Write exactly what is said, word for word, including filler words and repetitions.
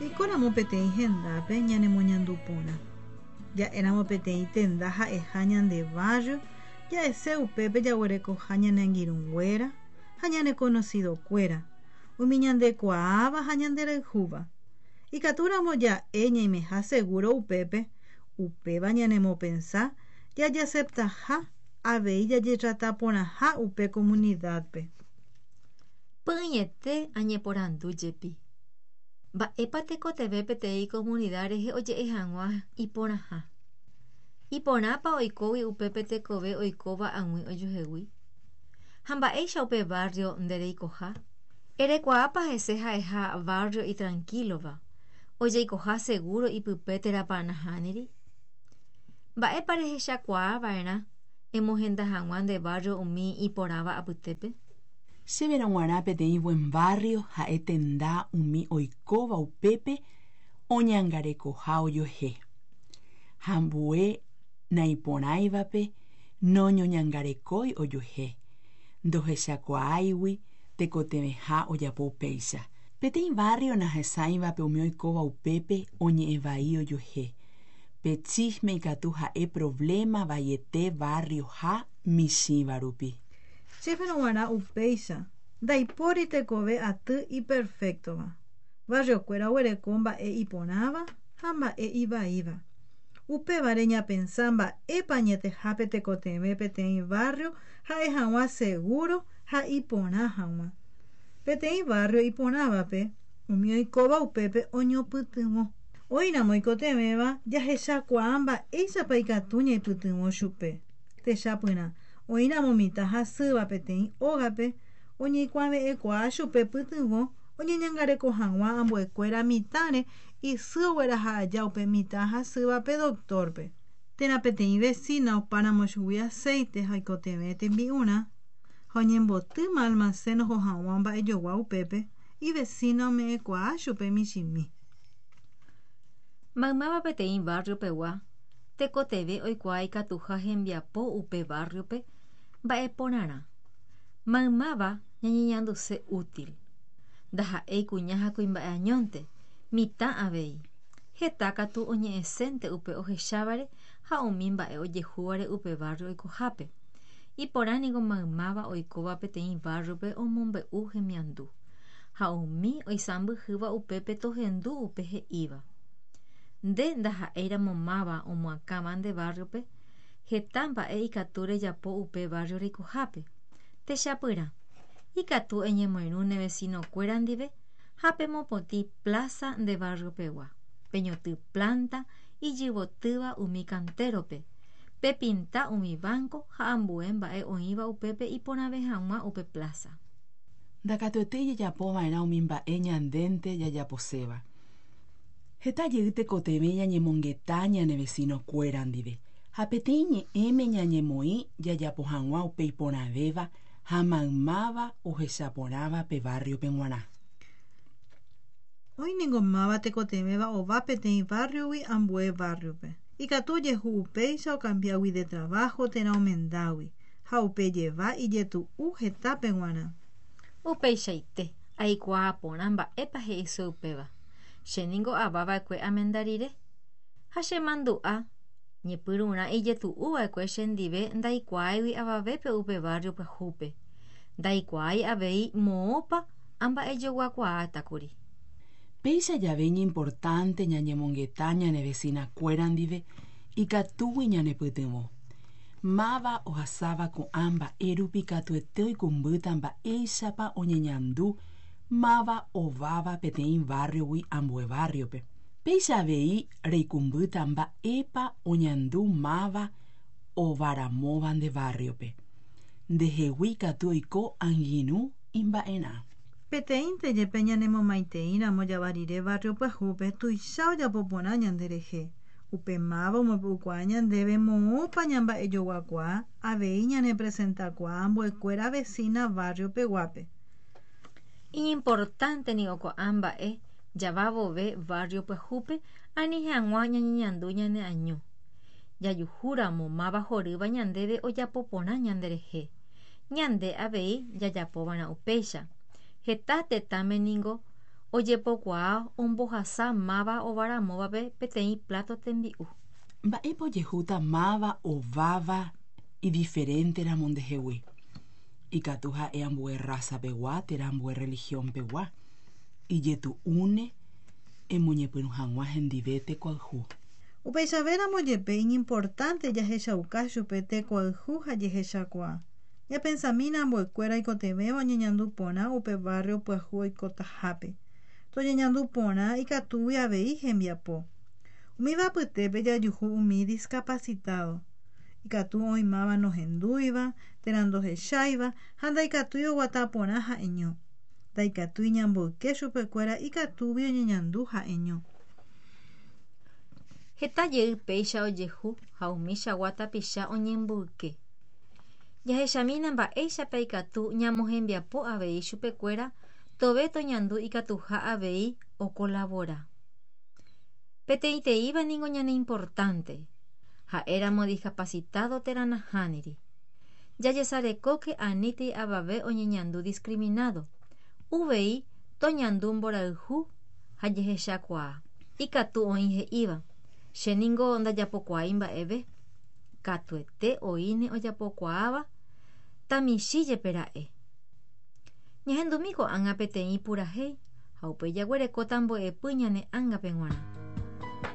Jaikóramo peteĩ hendápe ñanemoñandu porã. Ja'éramo peteĩ tenda ha'eha ñande barrio, ja'ese upépe jaguerekoha ñane angirũnguéra ha ñane conocidokuéra, umi ñandekuaáva ha ñanderayhúva. Ikatúramo ja'e ñaimeha seguro upépe, upéva ñanemopensa jajaceptaha avei jajetrataporãha upe comunidad-pe. Py'ỹiete añeporandu jepi. Mba'épa tekotevẽ peteĩ comunidad rehe oje'e hag̃ua iporãha. Iporãpa oikógui upépe tekove oikóva ag̃ui ojuehegui. Ha mba'éicha upe barrio ndereikoha. Erekuaápa hese ha'eha barrio itranquilova. Ojeikoha seguro ipype térãpa nahániri. Mba'épa rehechakuaava'erã emohenda hag̃ua nde barrio umi iporãva apytépe. Chéverõ g̃uarã peteĩ buen barrio ha'e tenda umi oikóva upépe oñangarekoha ojuehe. Ha ambue naiporãivape noñoñangarekói ojuehe, ndohechakuaáigui tekotevẽha ojapo upéicha. Peteĩ barrio nahesãivape umi oikóva upépe oñe'ẽvai ojuehe. Pe chisme ikatu ha'e problema vaiete barrio ha michĩva rupi. Chéverõ g̃uarã upéicha ndaipóri tekove aty iperfectova. Barriokuéra oguereko mba'e iporãva ha mba'e ivaíva. Upévare ñapensa mba'épa añetehápe tekotevẽ peteĩ barrio ha'e hag̃ua seguro ha iporã hag̃ua. Peteĩ barrio iporãvape umi oikóva upépe oñopytyvõ. Oĩramo oikotevẽva jahechakuaa mba'éichapa ikatu ñaipytyvõ chupe. Techapyrã oĩramo mitã hasýva peteĩ ógape oñeikuave'ẽkuaa chupe pytyvõ oñeñangareko hag̃ua ambuekuéra mitãre isy ogueraha aja upe mitã hasývape doctor-pe. Térã peteĩ vecina opáramo chugui aceite ha oikotevẽ tembi'urã ha oñembotýma almacén oho hag̃ua mba'ejogua upépe ivecina ome'ẽkuaa chupe michĩmi. Maymáva peteĩ barrio pegua tekotevẽ oikuaa ikatuha hembiapo upe barrio-pe mba'eporãrã. Maymáva ñañeñanduse útil. Ndaha'éi kuña ha kuimba'e añónte, mitã avei. Heta katu oñe'ẽsénte upe ohechávare ha umi mba'e ojehúvare upe barrio oikohápe. Iporã niko maymáva oikóva peteĩ barrio-pe omombe'u hemiandu. Ha umi oisãmbyhýva upépe tohendu upe he'íva. Nde ndaha'éiramo máva omoakãva nde barrio-pe, heta mba'e ikatu rejapo upe barrio reikohápe. Techapyrã. Ikatu eñemoirũ ne vecinokuéra ndive ha pemopotĩ plaza nde barrio pegua. Peñoty planta ijyvotýva umi cantero-pe. Pepinta umi banco ha ambue mba'e oĩva upépe iporãve hag̃ua upe plaza. Ndakatuete jajapova'erã umi mba'e ñandénte jajaposéva. Heta jey tekotevẽ ñañemongeta ñane vecinokuéra ndive ha peteĩ ñe'ẽme ñañemoĩ jajapo hag̃ua upe iporãvéva ha maymáva ohechaporãva pe barrio-pe g̃uarã. Oĩ máva tekotevẽva ova peteĩ barrio-gui ambue barrio-pe. Ikatu ojehu upéicha okambiágui de trabajo térã omendágui ha upe jeva ijetu'u hetápe g̃uarã. Upeichaite aikuaa porã mba'épa he'ise upéva. Chéniko avava'ekue amenda rire. Ha chemandu'a ñepyrũrã ijetu'uva'ekue chendive ndaikuaáigui avavépe upe barrio pyahúpe. Ndaikuaái avei moõpa amba'ejoguakuaátakuri. Péicha jave iñimportante ñañemongeta ñane vecinakuéra ndive ikatúgui ñanepytyvõ. Máva ohasáva ko'ã mba'e rupi katuete oikũmbýta mba'éichapa oñeñandu máva ováva peteĩ barrio-gui ambue barrio-pe. Péicha avei reikũmbýta mba'épa oñandu máva ovaramóva nde barrio-pe. Ndehegui katu oiko angirũ imba'erã. Peteĩnte jepe ñanemomaiteĩramo java rire barrio pyahúpe tuicha ojapo porã ñanderehe. Upe máva omombe'ukuaa ñandéve moõpa ñamba'ejoguakuaa avei ñanepresentakuaa ambuekuéra vecina barrio peguápe. Iñimportante niko ko'ã mba'e java vove barrio pyahúpe ani hag̃ua ñañeñandu ñaneaño. Jajuhúramo máva horýva ñandéve ojapo porã ñanderehe. Ñande avei jajapova'erã upéicha. Heta tetãme niko Ojepokuaa ombohasa máva ovaramóvape peteĩ plato tembi'u. Mba'épa ojehúta máva ováva idiferenteramo ndehegui. Ikatu ha'e ambue raza-pegua térã ambue religión-pegua. Ijetu'úne emoñepyrũ hag̃ua hendive tekoayhu. Upeichavéramo jepe iñimportante jahechauka chupe tekoayhu ha jehechakuaa. Ñapensamína ambuekuéra oikotevẽva oñeñandu porã upe barrio pyahu oikotahápe. Toñeñandu porã ikatúgui avei hembiapo. Umíva apytépe jajuhu umi discapacitado. Ikatu oĩ máva nohendúiva térã ndohecháiva ha ndaikatúi oguata porã ha'eño. Ndaikatúi ñamboyke chupekuéra ikatúgui oñeñandu ha'eño. Heta jey péicha ojehu ha umichagua tapicha oñemboyke. Jahechamína mba'éichapa ikatu ñamohembiapo avei chupekuéra tove toñandu ikatuha avei okolabora. Peteĩteĩva ningo ñaneimportante, ha'éramo discapacitado térã nahániri. Jajesarekóke anítei avave oñeñandu discriminado. Uvei toñandu mborayhu ha jehechakuaa. Ikatu oĩ he'íva, che ningo ndajapokuaái mba'eve. Katuete oĩne ojapokuaáva tamichĩ jepe ra'e. Ñahendumi ko'ág̃a peteĩ purahéi ha upéi jaguerekóta mbo'epy ñane ángape g̃uarã.